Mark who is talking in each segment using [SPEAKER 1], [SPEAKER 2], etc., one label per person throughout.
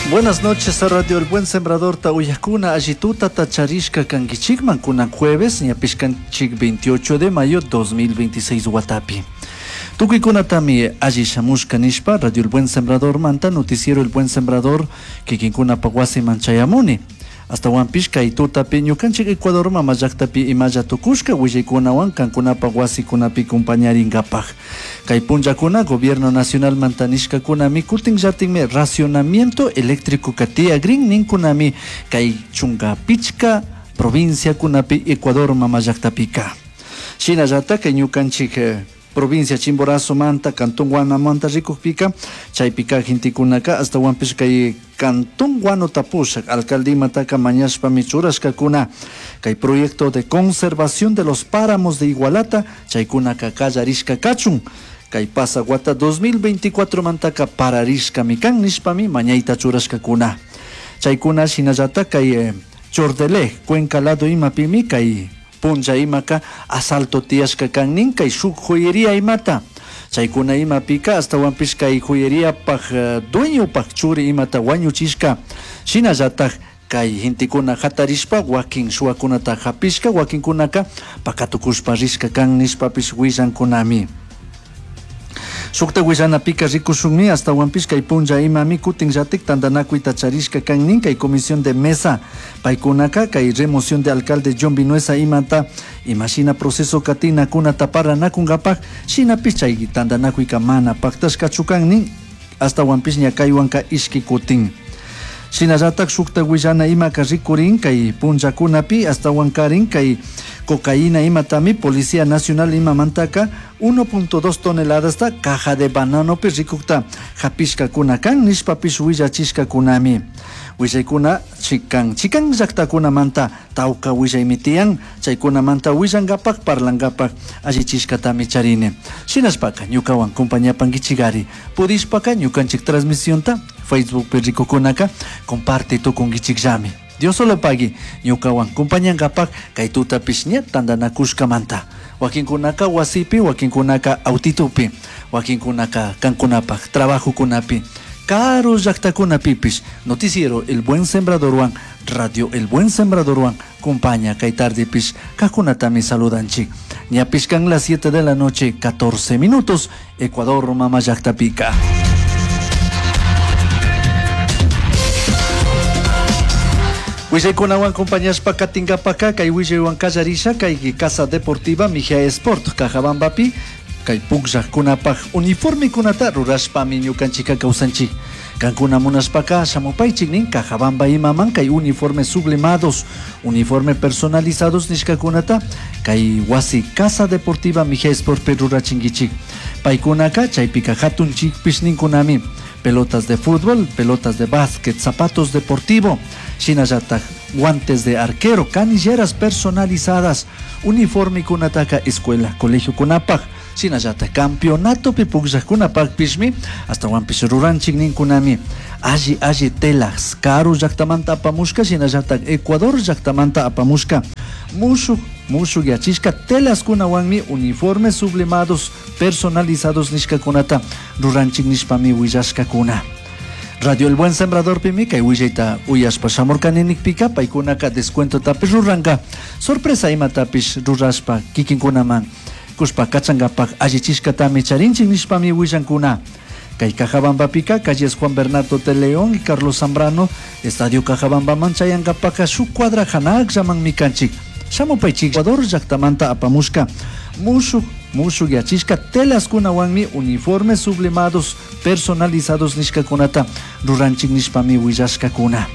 [SPEAKER 1] Buenas noches a Radio El Buen Sembrador ta uyakuna allituta tacharishka kankichikman kunan jueves ñapishkanchik 28 de mayo 2026 watapi. Tukuykunatami alli shamushka nishpa Radio El Buen Sembrador manta noticiero El Buen Sembrador kikinkunapa wasiman chayamuni. Astawanpish kay tutapi ñukanchik Ecuador mama llaktapi imalla tukushka willaykunawan kankunapa wasikunapi compañarinkapaj. Kay punllakuna gobierno nacional manta nishkakunami kutin llatinmi racionamiento eléctrico tiyagrin ninkunami kay chunka pichka provinciakunapi Ecuador mama llaktapika. Shinallata kay ñukanchik provincia Chimborazo manta, Cantón Guanamanta rikukpika, chaypika gentekunaka astawanpish kay Cantón Guano tapushak alcalde imataka mañashpami churashkakuna kay proyecto de conservación de los páramos de Igualata chaykunaka kallarishka kachun kay pasawata 2024 mantaka pararishkami kan nishpami mañayta churashkakuna chaykuna shinallata kay Chordeleg Cuenca lado imapimi kay punlla imaka asalto tiyashka kan nin kay shuk joyería imata chaykuna imapika astawanpish kay joyeriapaj dueñopaj churi imata wañuchishka shinallataj kay gentekuna hatarishpa wakin shuwakunata hapishka wakinkunaka pakatukushpa rishka kan nishpapish willankunami. Shukta willanapika rikushunmi astawanpish kay punlla imami kutin llatik tantanakuyta charishka kan nin kay comisión de mesa paykunaka kay remoción de alcalde John Vinuesa imata imashina proceso katinakunata paranakunkapaj shinapish chay tantanakuyka mana paktashkachu kan nin astawanpish ña kaywanka ishki kutin. Shinallatak shukta willana imaka rikurin kay punllakunapi astawankarin kay cocaína imatami Policía Nacional imamantaka 1.2 toneladas caja de bananopi rikukta hapishkakuna kan nishpapish willachishkakunami. Willaykuna chikan chikan llaktakunamanta tawka willaymi tiyan chaykunamanta willankapak parlankapak allichishkatami charini. Shinashpaka ñukawan compañapankichikari pudishpaka ñukanchik transmisionta Facebookpi rikukunaka comparte tukunkichikllami. Dios solo pagui ñukawan compañankapak kay tutapish ña tantanakushkamanta. Wakinkunaka wasipi, wakinkunaka autitupi, wakinkunaka kankunapak trabajokunapi. Karu llaktakunapipish noticiero El Buen Sembradorwan, Radio El Buen Sembradorwan, compaña kay tardepish kakunatami saludanchik. Ñapish kan las 7 de la noche, 14 minutos, Ecuador mama llaktapika. Willaykunawan compañashpa katinkapaka kay willaywan kallarisha kay Casa Deportiva Mejía Sport Cajabambapi kay pukllaqkunapaj uniformekunata rurashpami ñukanchika kawsanchik. Kankuna munashpaka shamupaychik nin Cajabamba imaman kay uniformes sublimados, uniforme personalizados nishkakunata kay wasi Casa Deportiva Mejía Sport rurachinkichik. Paykunaka chaypika hatunchikpish ninkunami pelotas de fútbol, pelotas de básquet, zapatos deportivo, shinallataj guantes de arquero, canilleras personalizadas, uniforme kunataka escuela, colegio kunapaj, shinallataj campeonato pukllaqkunapaqpishmi, astawanpish ruranchik ninkunami, alli alli telas, karu llaktamanta apamushka, shinallataj Ecuador llaktamanta apamushka, mushuk mushuk yachishka telaskunawanmi uniformes sublimados personalizados nishkakunata ruranchik nishpami willashkakuna. Radio El Buen Sembrador pimi kay willayta uyashpa shamurkani nikpika paykunaka descuentotapish ruranka sorpresa imatapish rurashpa kikinkunaman kushpa kachankapak allichishkatami charinchik nishpami willankuna. Kay Cajabambapika, calles Juan Bernardo de León y Carlos Zambrano, Estadio Cajabambaman chayankapaka shuk cuadra hanakllamanmi kanchik. Shamupaychik Ecuador llaktamanta apamushka mushuk mushuk yachishka telaskunawanmi uniformes sublimados personalizados nishkakunata ruranchik nishpami willashkakuna.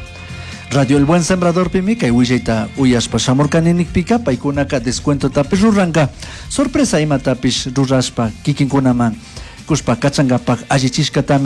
[SPEAKER 1] Radio El Buen Sembrador pimi kay willayta uyashpa shamurkani nikpika paykunaka descuentotapish ruranka sorpresa imatapish rurashpa kikinkunaman kushpa kachankapak allichishkatami.